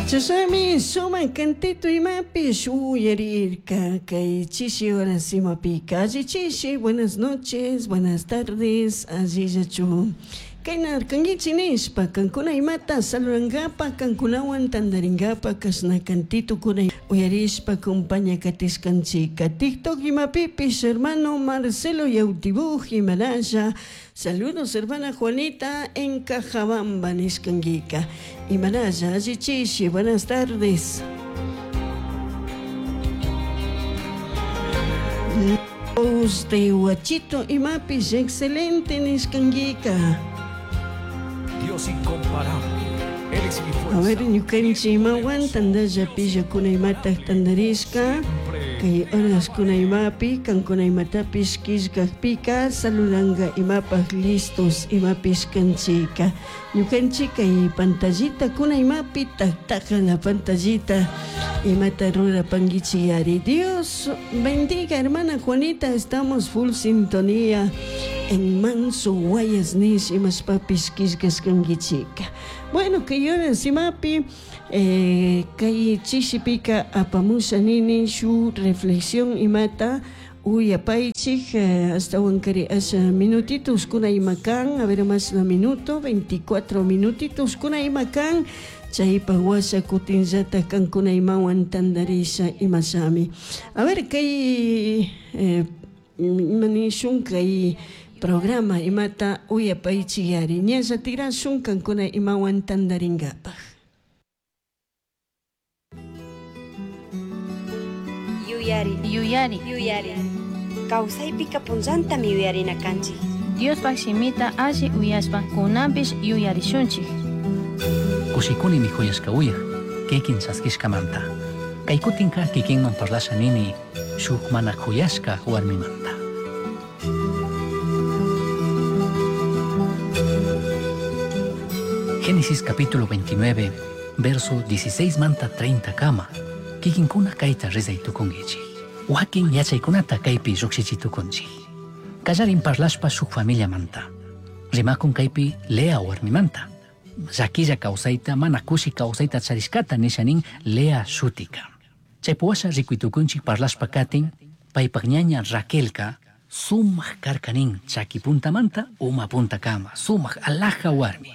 Chashnami sumak cantito imapish uyarirka kay chishi horas imapika. Alli chishi, buenas noches, buenas tardes, allillachu kaynarkanguichik nishpa kankuna imata saludangapak kankunawan tantaringapak kashna cantitokuna uyarishpa compaña katishkanchika. TikTok imapipish hermano Marcelo Yautibuj imaralla saludos hermana Juanita en Cajabamba nishkanguika. Imaralla alli chishi, buenas tardes. De Huachito imapish excelente nishkanguika. Dios incomparable. Él es mi fuerza. A ver, ñukanchik imawan tantalla pillakuna imatak tantarishka kay horaskuna imapi kankuna imatapish killkakpika saludanka imapak listos imapish kanchika. Ñukanchik kay pantallita kuna imapi taktaka la pantallita imata rurapankichik. Dios bendiga hermana Juanita, estamos full sintonía en Manso Guayas nish imashpapish killkashkankichika. Bueno, kay horas imapi kay chishipika apamusha nini shu reflexión imata uyapaychik ashtawan kari asha minutitos kuna ima kan, a ver más una minuto, 24 minutitos kuna ima kan, chaypak washa kutinllata kankuna imawan tantarisha imashami. A ver kay ima nishun kay programa imata uyapaychik ñalla tirashun kankuna imawan tantarinkapak. Yuyari, Yuyari, yuyari. Kawsaypika punllantami yuyarina kanchik. Diospak shimita alli uyashpa kunanpish yuyarishunchik. Kushikunimi huyashka uyaj, kikin chaskishkamanta. Kay kutinka kikinman parlasha nini, shuk mana huyashka warmimanta. Génesis capítulo 29, verso 16 manta 30 kama. Kikinkuna kayta rezay tukunkichik. Wakin yachaykunata kaypi lluqshichitukunchik. Kallarin parlashpa shuk familiamanta. Rimakun kaypi Lea warmimanta. Llakilla kawsayta mana kushi kawsayta charishkata nisha nin Lea shutika. Chaypi washa rikuytukunchik parlashpa katin, paypak ñaña Raquelka sumak karka nin chaki puntamanta uma puntakama, sumak alhaja warmi.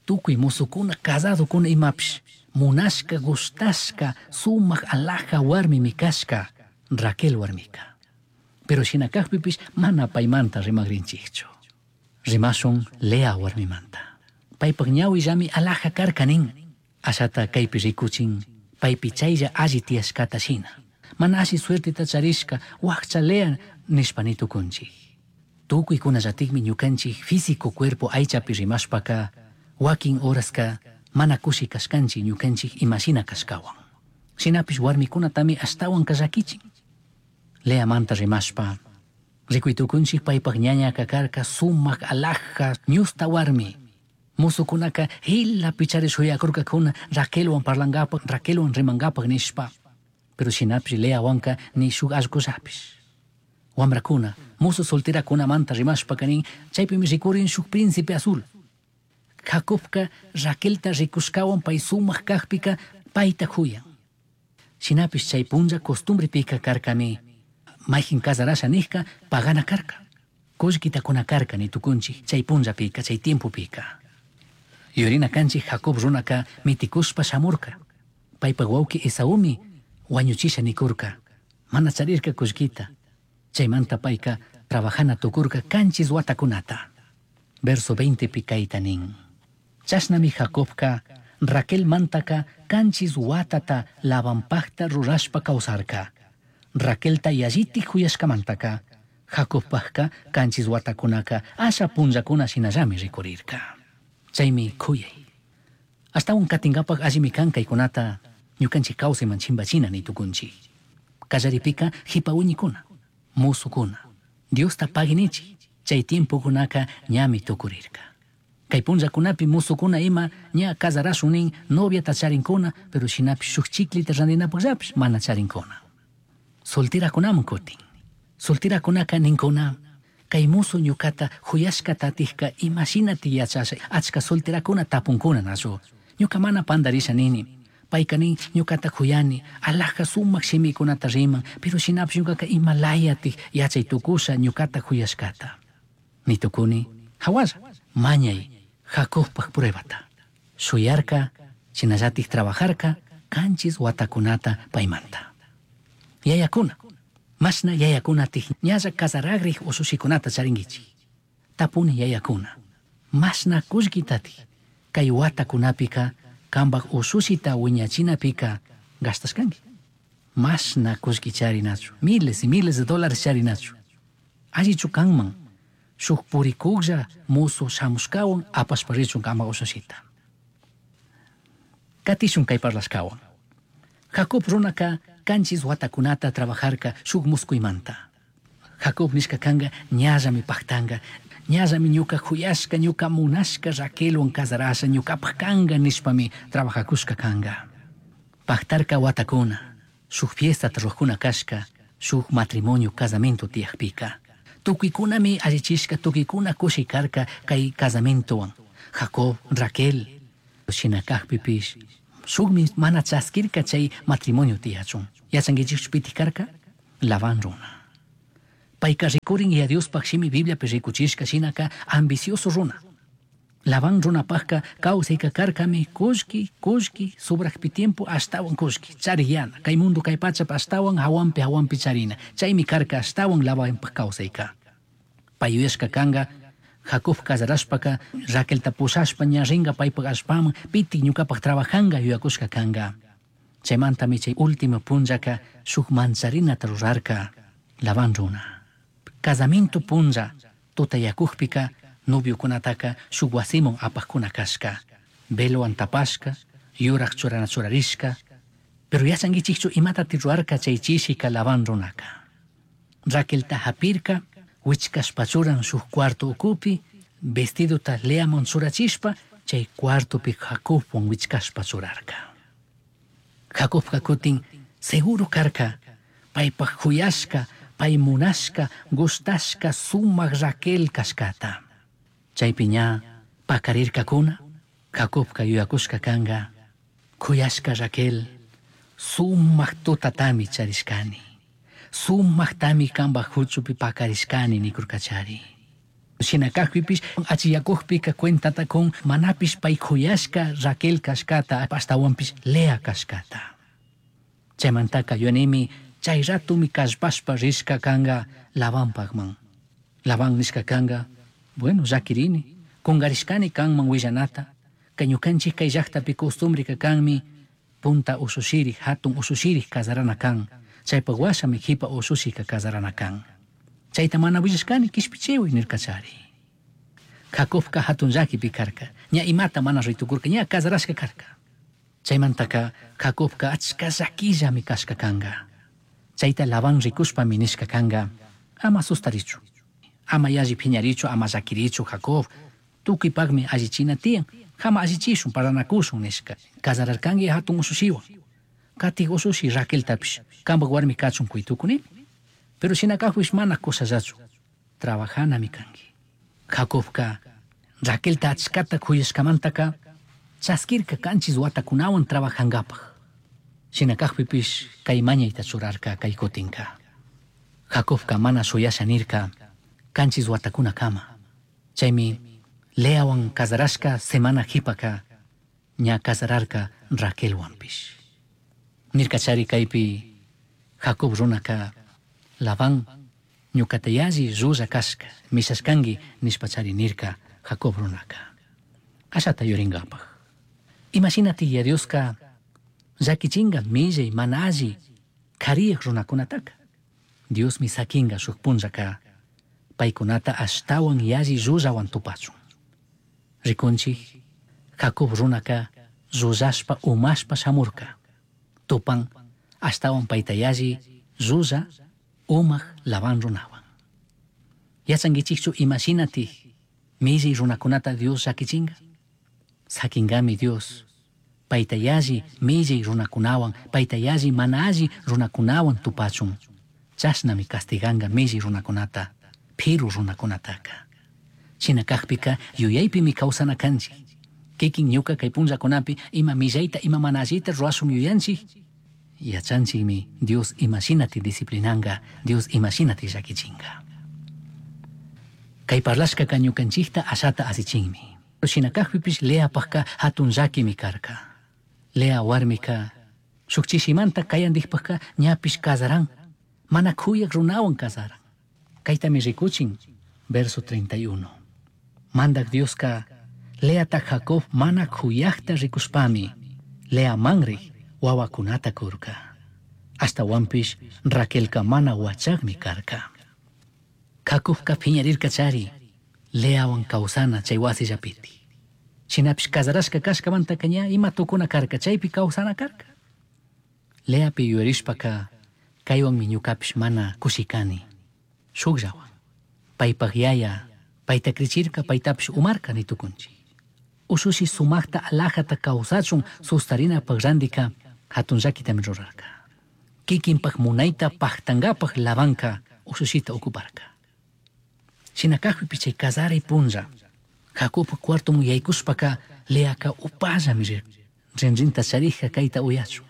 Tukuy musukuna casadokuna imapish, munashka gustashka sumak alhaja warmimi kashka Raquel warmika. Pero shina kajpipish mana paymanta rimakrinchikchu. Rimashun Lea warmimanta. Paypak ñawillami alhaja karka nin. Ashata kaypi rikuchin, paypi chaylla alli tiyashkata shina. Mana alli suerteta charishka wakcha Lea nishpa nitukunchik. Tukuykunallatikmi ñukanchik físico cuerpo aychapi rimashpaka wakin horaska mana kushi kashkanchik ñukanchik imashina kashkawan. Shinapish warmikunatami ashtawan llakichin. Leamanta rimashpa rikuytukunchik paypak ñañaka karka sumak alhaja ñusta warmi. Musukunaka hila pichari shuyakurkakuna Raquelwan parlankapak, Raquelwan rimankapak nishpa. Pero shinapish Leawanka ni shuk allkullapish. Wamrakuna, musu solterakunamanta rimashpaka nin, chaypimi rikurin shuk príncipe azul. Jacobka Raquelta rikushkawan pay sumak kajpika payta huyan. Shinapish chay punlla costumbrepika karkami, mayjin casarasha nijka pagana karka. Kullkita kuna karka nitukunchik chay punllapika, chay tiempopika. Yurina kanchik Jacob runaka mitikushpa shamurka. Paypak wawki Esaumi wañuchisha nikurka. Mana charirka kullkita. Chaymanta payka trabajana tukurka kanchis watakunata. Verso 20 pi kayta nin. Chashnami Jacobka Raquel mantaka kanchis watata Labanpakta rurashpa kawsarka. Raquelta yallitik huyashkamantaka Jacobpakka kanchis watakunaka asha punllakuna shinallami rikurirka. Chaymi kuyay. Ashtawan katinkapak allimi kan kaykunata ñukanchik kawsayman chimpachina nitukunchik. Kallaripika hipa wiñikuna, musukuna, Diosta paginichik, chay tiempokunaka ñami tukurirka. Kay punllakunapi musukuna ima ña casarashun nin noviata charinkuna, pero shinapish shuk chiklita rantinapakllapish mana charinkuna. Solterakunaman kutin. Solterakunaka ninkuna, kay musu ñukata huyashkata atikka imashinati yachasha, achka solterakuna tapunkuna nachu. Ñuka mana pandarisha nini. Payka nin ñukata kuyani, alhaja sumak shimikunata riman, pero shinapish ñukaka imalayatik yachay tukusha ñukata kuyashkata. Nitukuni, hawalla, mañay, Jacobpak pruebata. Shuyarka, shinallatik trabajarka, kanchis watakunata paymanta. Yayakuna, mashna yayakunatik ñalla casaragrik ushushikunata charinkichik. Tapuni yayakuna, mashna kullkitatik kay watakunapika kanpak ushushita wiñachinapika gastashkanki. Mashna kullki charinachu, miles y miles de dólares charinachu. Allichu kanman, shuk purikuklla musu shamushkawan apashpa richun kanpak ushushita. Katishun kay parlashkawan. Jacob runaka kanchis watakunata trabajarka shuk muskuymanta. Jacob nishka kanga ñallami paktanga, ñallami ñuka kuyashka, ñuka munashka Raquelwan casarasha, ñukapak kanga nishpami trabajakushka kanga. Paktarka watakuna, shuk fiestata rurakuna kashka, shuk matrimonio casamiento tiyakpika. Tukuykunami allichishka, tukuykuna kushi karka kay casamientowan. Jacob, Raquel, shina kakpipish, shukmi mana chaskirka chay matrimonio tiyachun. Yachankichikchu pitik karka? Labán runa. Payka rikurin y a Diospaj shimi Bibliapi rikuchishka shinaka ambicioso runa. Labán runapajka kawsayka karkami kullki, kullki, sobrakpi tiempo ashtawan kullki, chariyana, kay mundo kay pachapi ashtawan hawanpi hawanpi charina, chaymi karka ashtawan Labanpaj kawsayka. Pay yuyashka kanga, Jacob casarashpaka, Raquelta pushashpa ña ringa paypak allpaman, pitik ñukapak trabajanga yuyakushka kanga. Chaymantami chay último punllaka shuk mancharinata rurarka Labán runa. Casamiento punlla tutayakukpika noviokunataka shuk wasiman apakuna kashka, velowan tapashka, yurak churana churarishka, pero yachankichikchu imatati rurarka chay chishika Labán runaka. Raquelta hapirka, wichkashpa churan shuk cuarto ukupi, vestidota Leaman churachishpa, chay cuartopi Jacobwan wichkashpa churarka. Jacobka kutin seguro karka, paypak kuyashka, pay munashka, gustashka sumak Raquel kashkata. Chaypi ña pakarirkakuna, Jacobka yuyakushka kanga, kuyashka Raquel, sumak tutatami charishkani, sumaktami kanpak huchupi pakarishkani nikurkachari. Shina kakpipish achiyakukpika cuentata kun manapish pay kuyashka Raquel kashkata, ashtawanpish Lea kashkata. Chaymantaka yuyanimi chay ratumi kallpashpa rishka kanga Labanpakman. Labán nishka kanga, bueno, llakirini, kungarishkani kanman willanata, kay ñukanchik kay llaktapi costumbreka kanmi, punta ushushirik, hatun ushushirik casarana kan, chaypak washami jipa ushushika casarana kan. Chayta mana willashkani kishpichiwi nirkachari. Jacobka hatun llakipi karka, ña imata mana ritukurka, ña casarashka karka. Chaymantaka Jacobka achka llakillami kashka kanga. Chayta Labán rikushpami nishka kanga, ama sustarichu, ama yalli phiñarichu, ama llakirichu Jacob, tukuypakmi allichina tiyan, jama allichishun, paranakushun nishka. Casararkanki hatun ushushiwan, katik ushushi Raqueltapish, kanpak warmi kachun kuytukuni. Pero shina kakpish mana kusallachu, trabajanami kanki. Jacobka Raquelta achkata kuyashkamantaka chaskirka kanchis watakunawan trabajankapak. Shina kakpipish kay mañayta churarka kay kutinka. Jacobka mana shuyasha nirka kanchis watakunakama. Chaymi Leawan casarashka semana jipaka ña casararka Raquelwanpish. Nirkachari kaypi Jacob runaka Labán ñukata yalli llulla kashka mishashkanki nishpachari nirka Jacob runaka. Ashata yurinkapak. Imashinati ya Dioska llakichinga millay mana alli kariyak runakunataka. Diosmi sakinga shuk punllaka paykunata ashtawan yalli llullawan tupachun. Rikunchik Jacob runaka llullashpa umashpa shamurka. Tupan ashtawan payta yalli llulla umak Labán runawan. Yachankichikchu imashinati millay runakunata Dios llakichinga? Sakinkami Dios payta yalli millay runakunawan, payta yalli mana alli runakunawan tupachun. Chashnami castiganka millay runakunata, piru runakunataka. Shina kakpika yuyaypimi kawsana kanchik. Kikin ñuka kay punllakunapi ima millayta ima mana allita ruwashun yuyanchik. Yachanchikmi Dios imashinati disciplinanga, Dios imashinati llakichinga. Kay parlashkaka ñukanchikta ashata asichinmi. Shina kajpipish Leapajka hatun llakimi karka. Lea warmika shuk chishimanta kayandikpajka ñapish kasaran, mana kuyak runawan kasaran. Kaytami rikuchin, verso 31. Mandak Dioska Leata Jacob mana kuyakta rikushpami Lea manrik wawakunata kurka. Ashtawanpish Raquelka mana wachakmi karka. Jacobka phiñarirka chari Leawan kawsana chay wasillapiti. Shinapish kasarashka kashkamantaka ña ima tukuna karka chaypi kawsana karka. Leapi yuyarishpaka kaywanmi ñukapish mana kushikani. Shukllawan. Paypak yaya payta krichirka paytapish umarka nitukunchik. Ushushi sumakta alajata kawsachun sustarinapaq randika hatun llakitami rurarka. Kikinpak munayta paktankapak Labanka ushushita ocuparka. Shina kajpipish chay kasaray punlla Jacobpa cuartoman yaykushpaka Leaka upallami rirka. Rinrinta charija kayta uyachun.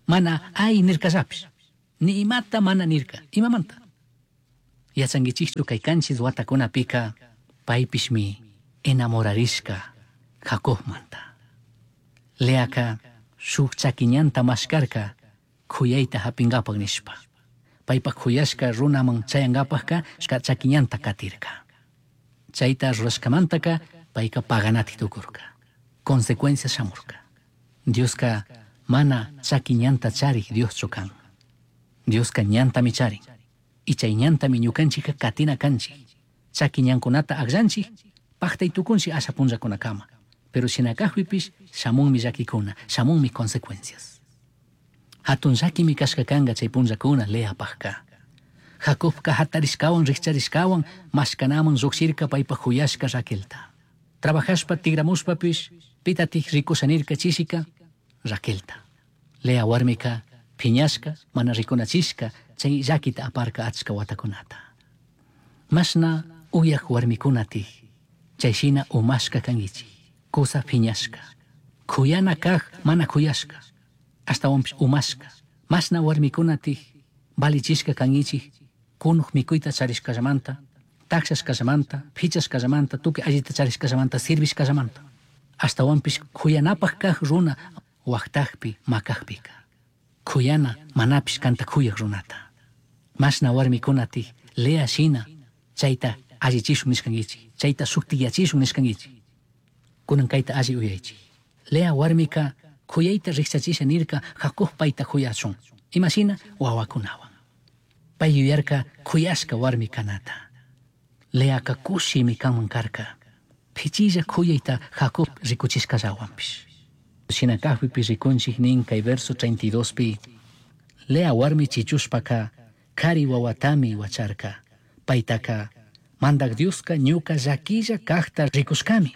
Mana ay nirkallapish. Ni imata mana nirka. Imamanta? Yachankichikchu kay kanchis watakunapika paypishmi enamorarishka Jacobmanta. Leaka shuk chakiñanta mashkarka kuyayta hapinkapak nishpa. Paypak kuyashka runaman chayankapakka chakiñanta katirka. Chayta rurashkamantaka payka paganati tukurka. Consecuencias shamurka. Dioska mana chakiñanta charik Dioschu kan. Dioska ñantami charin. Y chay ñantami ñukanchikka katina kanchik. Chaki ñankunata akllanchik, paktay tukunchik asha punllakunakama. Pero shina kajpipish shamunmi llakikuna, shamunmi consecuencias. Hatun llakimi kashka kanka chay punllakuna Leapajka. Jacobka hatarishkawan rikcharishkawan mashkanaman llukshirka paypak kuyashka Raquelta. Trabajashpa tigramushpapish pitatik rikusha nirka chishika Raquelta. Lea warmika phiñashka mana rikunachishka chay llakita aparka achka watakunata. Mashna uyak warmikunatik chay shina umashka kankichik, kusa phiñashka. Kuyana kaj mana kuyashka, ashtawanpish umashka. Mashna warmikunatik valichishka kankichik, kunuj mikuyta charishkallamanta, takshashkallamanta, phichashkallamanta, tukuy allita charishkallamanta, sirvishkallamanta. Ashtawanpish kuyanapaj kaj runa waqtakpi makajpika. Kuyana manapish kanta kuyak runata. Mashna warmikunatik Lea shina chayta allichishun nishkankichik, chayta shuktiyachishun nishkankichik. Kunan kayta alli uyaychik. Lea warmika kuyayta rikchachisha nirka Jacob payta kuyachun. Imashina wawakunawan. Pay yuyarka kuyashka warmi kanata. Leaka kushimi kanman karka. Phichilla kuyayta Jacob rikuchishkallawanpish. Shina kajpipi rikunchik nin kay verso 32 pi. Lea warmi chichushpaka kari wawatami wacharka. Paytaka mandak Dioska ñuka llakilla kajta rikushkami.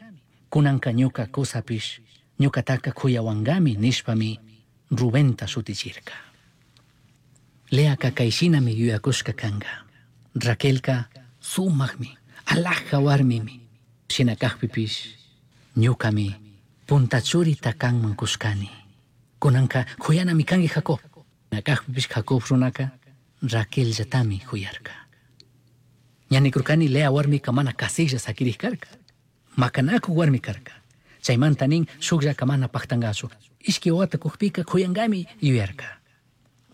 Kunanka ñuka kusapish ñukataka kuyawankami nishpami Rubenta shutichirka. Leaka kayshinami yuyakushka kanka. Raquelka sumakmi, alhaja warmimi. Shina kajpipish ñukami punta churita kanman kushkani. Kunanka kuyanami kanki Jacob. Shina kajpipish Jacob runaka Raquelllatami kuyarka. Ñanikurkani Lea warmika mana kasiklla sakirik karka. Makanakuq warmi karka. Chaymanta nin shukllaka mana paktankachu. Ishki wawata kukpika kuyankami yuyarka.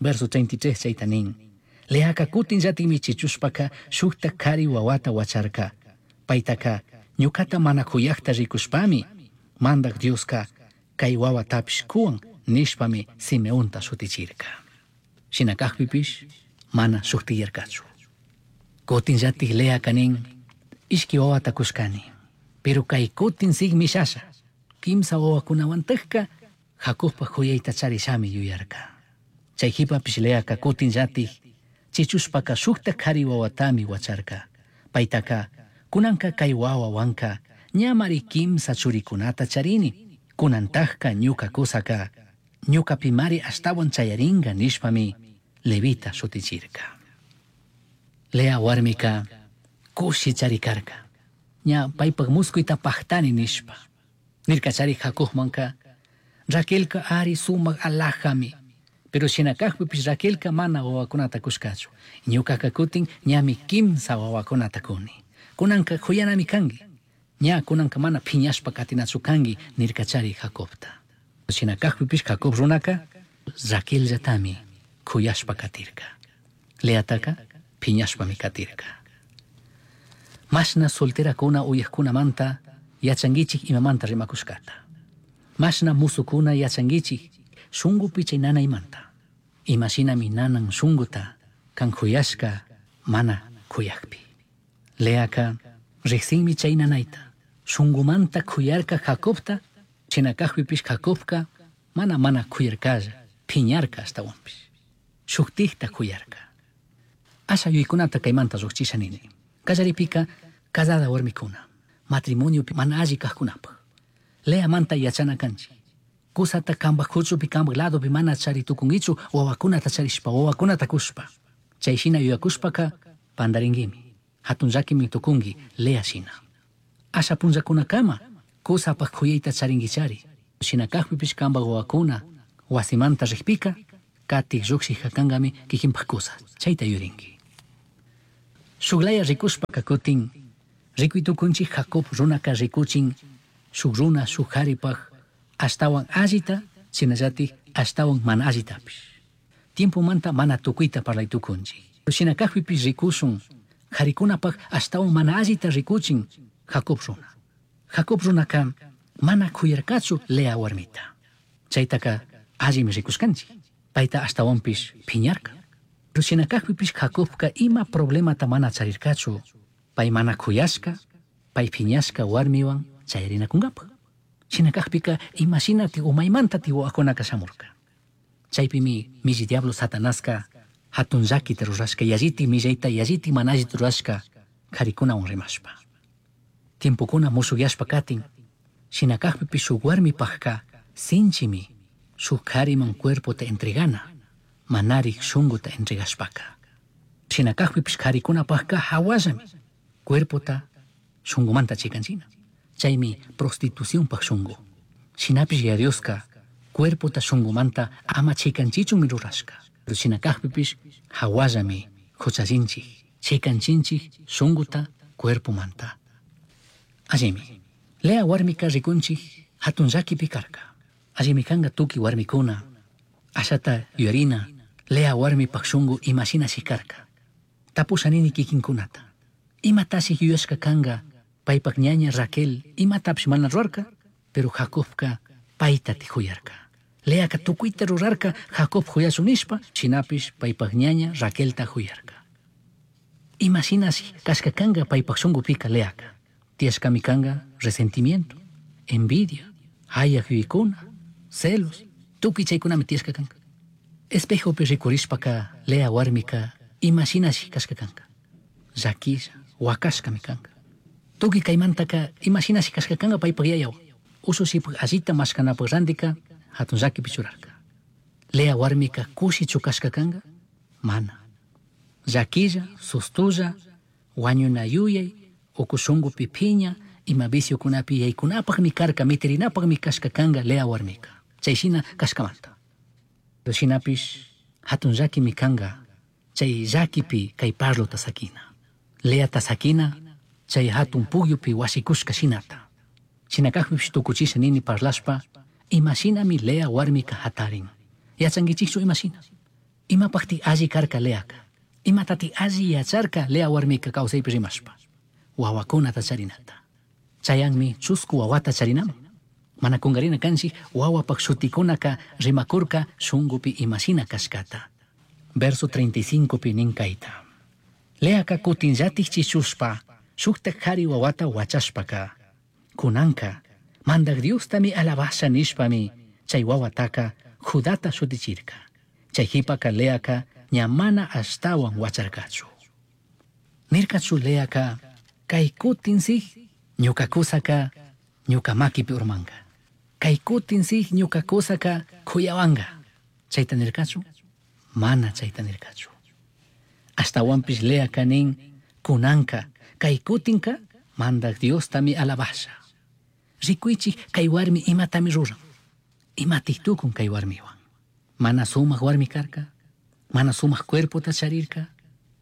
Verso 33 chayta nin. Leaka kutin llatikmi chichushpaka shukta kari wawata wacharka. Paytaka ñukata mana kuyakta rikushpami mandak Dioska kay wawatapish kuwan nishpami Simeonta shutichirka. Shina kajpipish mana shuktiyarkachu. Kutin llatik Leaka nin ishki wawata kushkani. Pero kay kutin sigmishasha. Kimsa wawakunawantakka Jacobpa kuyayta charishami yuyarka. Chay jipapish Leaka kutin llatik chichushpaka shukta kari wawatami wacharka. Paytaka kunanka kay wawawanka ñamari kimsa churikunata charini. Kunantajka ñuka kusaka ñukapimari ashtawan chayaringa nishpami Levita shutichirka. Lea warmika kushi charikarka. Ña paypak muskuyta paktani nishpa. Nirkachari Jacobmanka Raquelka ari sumak alajami. Pero shinakajpipish Raquelka mana wawakunata kushkachu. Ñukaka kutin ñami kimsa wawakunata kuni. Kunanka kuyanami kanki. Ña kunanka mana phiñashpa katinachu kanki nirkachari Jacobta. Shinakajpipish Jacob runaka Raquelllatami kuyashpa katirka. Leataka phiñashpami katirka. Mashna solterakuna uyajkunamanta yachankichik imamanta rimakushkata. Mashna musukuna yachankichik shunkupi chay nanaymanta. Imashinami nanan shunkuta kan kuyashka mana kuyakpi. Leaka riqsinmi chay nanayta. Shunkumanta kuyarka Jacobta, shinakajpipish Jacobka mana mana kuyarkalla, phiñarka ashtawanpish. Shuktikta kuyarka. Asha yuykunata kaymanta lluqchisha nini. Kallaripika casada warmikuna, matrimoniopi mana alli kajkunapaj. Leamanta yachana kanchik. Kusata kambaj kuchupi kambaj ladopi mana chari tukunkichu wawakunata charishpa, wawakunata kushpa. Chay shina yuyakushpaka pandaringuimi. Hatun llakimi tukunki Lea shina. Asha punllakunakama kusapaj kuyayta charinkichari. Shina kajpipish kambaj wawakuna wasimanta rikpika katik lluqshik kankami kikinpaj kusa. Chayta yurinki. Shuklaya rikushpaka kutin rikuy tukunchik Jacob runaka rikuchin shuk runa shuk karipaj ashtawan allita shinallatik ashtawan mana allitapish. Tiempomanta mana tukuyta parlay tukunchik. Shina kajpipish rikushun karikunapaj ashtawan mana allita rikuchin Jacob runa. Jacob runaka mana kuyarkachu Lea warmita. Chaytaka allimi rikushkanchik. Payta ashtawanpish phiñarka. Pero shina kajpipish Jacobka ima problemata mana charirkachu. Pay mana kuyashka, pay phiñashka warmiwan chayarinakunkapaj. Shina kajpika imashinati umaymanta wawakunaka shamurka. Chaypimi milli diablo Satanaska hatun llakita rurashka yalliti millayta yalliti mana allita rurashka karikunawan rimashpa. Tiempokuna mushukyashpa katin, shina kajpipish shuk warmipajka sinchimi shuk kariman cuerpota entregana, manarik shunkuta entregashpaka. Shina kajpipish karikunapajka hawallami cuerpota shunkumanta chikanchina. Chaymi prostitucionpaj shunku. Shinapish Yaya Dioska cuerpota shunkumanta ama chikanchichunmi rurashka. Pero shina kajpipish hawallami huchallinchik, chikanchinchik shunkuta cuerpomanta. Allimi, Lea warmika rikunchik hatun llakipi karka. Allimi kanka tukuy warmikuna, ashata yuyarina, Lea warmipaj shunku imashinashi karka. Tapusha nini kikinkunata. Imatashi yuyashka kanka paypak ñaña Raquel imatapish mana rurarka, pero Jacobka payta huyarka. Leaka tukuyta rurarka Jacob huyachun nishpa, shinapish paypak ñaña Raquelta huyarka. Imashinashi kashka kanka paypak shunkupika Leaka. Tiyashkami kanka resentimiento, envidia, hayak yuyaykuna, celos, tukuy chaykunami tiyashka kanka. Espejopi rikurishpaka Lea warmika imashinashi kashka kanka. Llakilla, wakashkami kanka. Tukuy kaymantaka imashinashi kashka kanka paypak yayawan. Ushushipak allita mashkanapaj randika hatun llakipi churarka. Lea warmika kushichu kashka kanka? Mana. Llakilla, sustulla, wañuna yuyay, uku shunkupi phiña, ima viciokunapi yaykunapajmi karka, mitirinapajmi kashka kanka Lea warmika. Chay shina kashkamanta. Pero shinapish hatun llakimi kanka chay llakipi kay parlota sakina. Leata sakina chay hatun pukyupi wasikushka shinata. Shina kajpipish tukuchisha nini parlashpa imashinami Lea warmika hatarin. Yachankichikchu imashina. Imapakti alli karka Leaka. Imatati alli yacharka Lea warmika kawsaypi rimashpa. Wawakunata charinata. Chayanmi chusku wawata charinaman. Mana kunkarina kanchik wawapak shutikunaka rimakurka shunkupi imashina kashkata. Verso 35 pi nin kayta. Leaka kutinllatik chichushpa shuktak kari wawata wachashpaka. Kunanka mandak Diostami alabasha nishpami chay wawataka Judata shutichirka. Chay hipaka Leaka ña mana ashtawan wacharkachu. Nirkachu Leaka kay kutin sik ñuka kusaka ñuka makipi urmanka. Kay kutin sik ñuka kusaka kuyawanka. Chayta nirkachu? Mana chayta nirkachu. Ashtawanpish Leaka nin kunanka kay kutinka mandak Diostami alabasha. Rikuychik kay warmi imatami ruran. Imatik tukun kay warmiwan. Mana sumaq warmi karka, mana sumaq cuerpota charirka,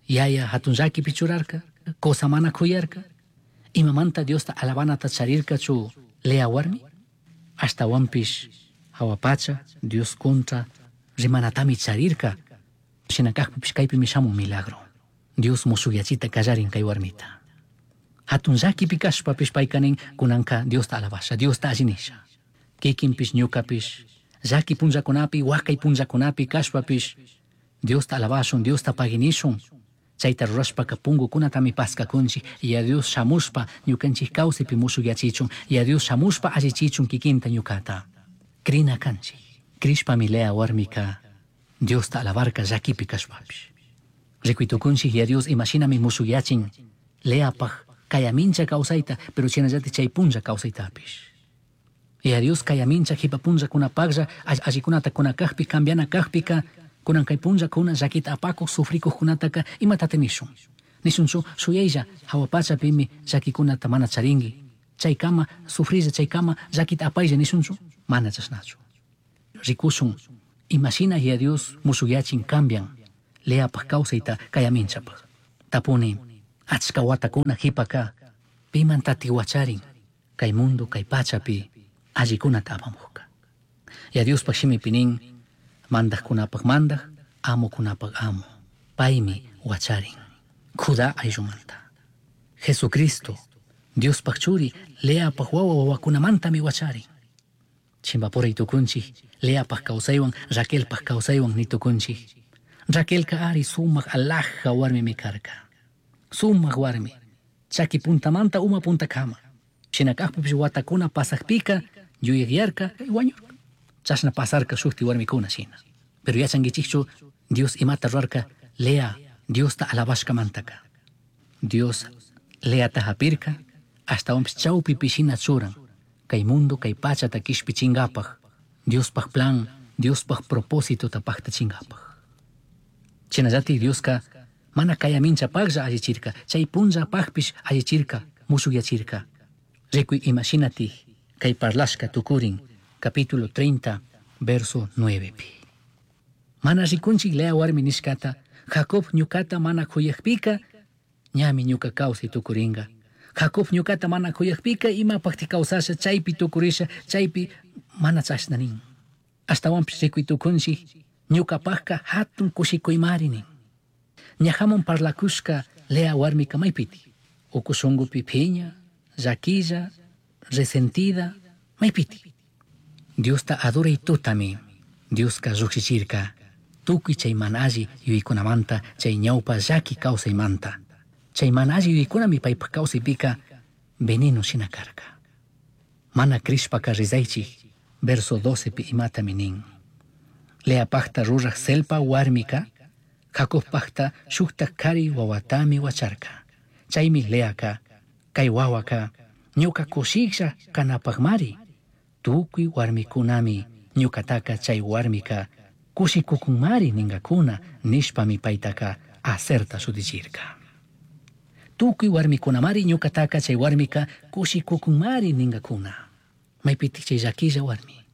yaya hatun llakipi churarka, cosa mana kuyarka. Imamanta Diosta alabanata charirkachu Lea warmi? Ashtawanpish hawa pacha Dios contra rimanatami charirka. Shina kajpipish kaypimi shamun milagro. Dios mushukyachita kallarin kay warmita. Hatun llakipi kashpapish payka nin kunanka Diosta alabasha, Diosta alli nisha. Kikinpish ñukapish llaki punllakunapi, wakay punllakunapi kashpapish Diosta alabashun, Diosta paginishun. Chayta rurashpaka punkukunatami paskakunchik. Yaya Dios shamushpa ñukanchik kawsaypi mushukyachichun. Yaya Dios shamushpa allichichun kikinta ñukata. Krina kanchik. Krishpami Lea warmika Diosta alabarka llakipi kashpapish. Rikuytukunchik Yaya Dios imashinami mushukyachin Leapaj kayamincha kawsayta, pero shinallatik chay punlla kawsaytapish. Yaya Dios kayamincha jipa punllakunapaklla allikunata kuna kajpi, cambiana kajpika, kunan kay punllakuna llakita apakuq sufrikuqkunataka imatata nishun. Nishunchu shuyaylla hawa pachapimi llakikunata mana charinki. Chaykama sufrilla, chaykama llakita apaylla nishunchu, mana chashnachu. Rikushun imashina Yaya Dios mushukyachin cambian Leapaj kawsayta kayaminchapaj. Tapuni achka watakuna jipaka pimantati wacharin kay mundo kay pachapi allikunata apamuqka. Yaya Diospaj shimipi nin mandajkunapaj mandaj, amukunapaj amo. Paymi wacharin Judá ayllumanta. Jesucristo Diospaj churi Leapaj wawa wawakunamantami wacharin. Chimbapuray tukunchik Leapaj kawsaywan Raquelpaj kawsaywan nitukunchik. Raquelka ari sumaq alhaja warmimi karka. Sumaq warmi. Chaki puntamanta uma puntakama. Shina kajpipish watakuna pasakpika yuyakyarka wañurka. Chashna pasarka shukti warmikuna shina. Pero yachankichikchu Dios imata rurarka Lea Diosta alabashkamantaka. Dios Leata hapirka ashtawanpish chawpipi shina churan. Kay mundo kay pachata kishpichinkapaj Diospaj plan, Diospaj propósitota paktachinkapak. Shinallatik Dioska mana kayaminchapaklla allichirka, chay punllapakpish allichirka, mushukyachirka. Rikuy imashinatik kay parlashka tukurin, capítulo 30, verso 9 pi. Mana rikunchik Lea warmi nishkata, Jacob ñukata mana kuyakpika, ñami ñuka kawsay tukurinka. Jacob ñukata mana kuyakpika imapakti kawsasha, chaypi tukurisha, chaypi mana chashna nin. Ashtawanpish rikuy tukunchik, ñukapakka hatun kushikuymari nin. Ñajamun parlakushka Lea warmika maypiti. Uku shunkupi phiña, llaquilla, resentida, maypiti. Diosta adoray tutami, Dioska llukshichirka, tukuy chay mana alli yuyaykunamanta, chay ñawpa llaki kawsaymanta. Chay mana alli yuyaykunami paypaj kawsaypika veneno shina karka. Mana krishpaka rizaychik, verso 12 pi imatami nin. Leapajta ruraj Zelpa warmika, Jacobpajta shukta kari wawatami wacharka. Chaymi Leaka, kay wawaka, ñuka kushiklla kanapajmari. Tukuy warmikunami ñukataka chay warmika kushikukunmari ninkakuna nishpami paytaka Aserta shutichirka. Tukuy warmikunamari ñukataka chay warmika kushikukunmari ninkakuna. Maypitik chay llakilla warmi,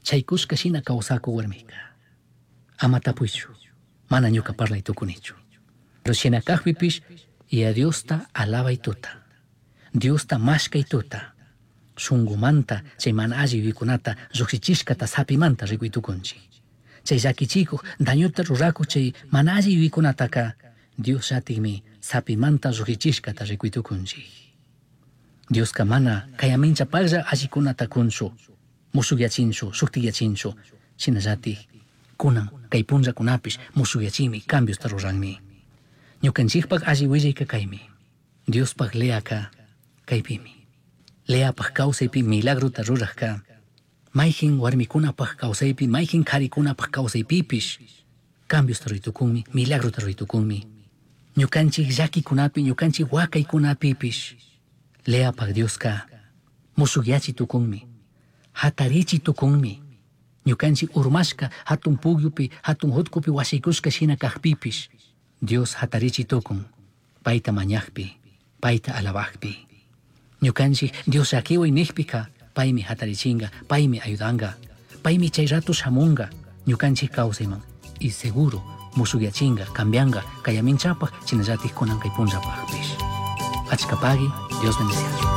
chay kushka shina kawsaku warmika. Ama tapuychu, mana ñuka parlay tukunichu. Pero shina kajpipish, Yaya Diosta alabay tuta, Diosta mashkay tuta, shunkumanta chay mana alli yuyaykunata llukshichishkata sapimanta rikuy tukunchik. Chay llakichikuq dañuta rurakuq chay mana alli yuyaykunataka Dios llatikmi sapimanta llukshichishkata rikuy tukunchik. Dioska mana kayaminchapaklla allikunata kunchu, mushukyachinchu, shuktikyachinchu, shinallatik kunan kay punllakunapish mushukyachinmi, cambiosta ruranmi. Ñukanchikpak alli willayka kaymi. Diospaj Leaka kaypimi. Leapaj kawsaypi milagrota rurajka, mayjin warmikunapaj kawsaypi, mayjin qharikunapaj kawsaypipish cambiosta ruraytukunmi, milagrota ruraytukunmi. Ñukanchik llakikunapi, ñukanchik wakaykunapipish Leapaj Dioska mushukyachi tukunmi, hatarichi tukunmi. Ñukanchik urmashka hatun pukyupi, hatun hutkupi wasikushka shina kajpipish Dios hatarichi tukun, payta mañajpi, payta alabajpi. Ñukanchik Dios llakiway nijpika Paymi hatarichinga, paymi ayudanga. Paymi chay rato shamunga, ñukanchik kawsayman. Y seguro mushukyachinga, cambianga, kayaminchapaj, chinallatik kunan kay punllapajpish. Achkapagi, Dios bendeciachu.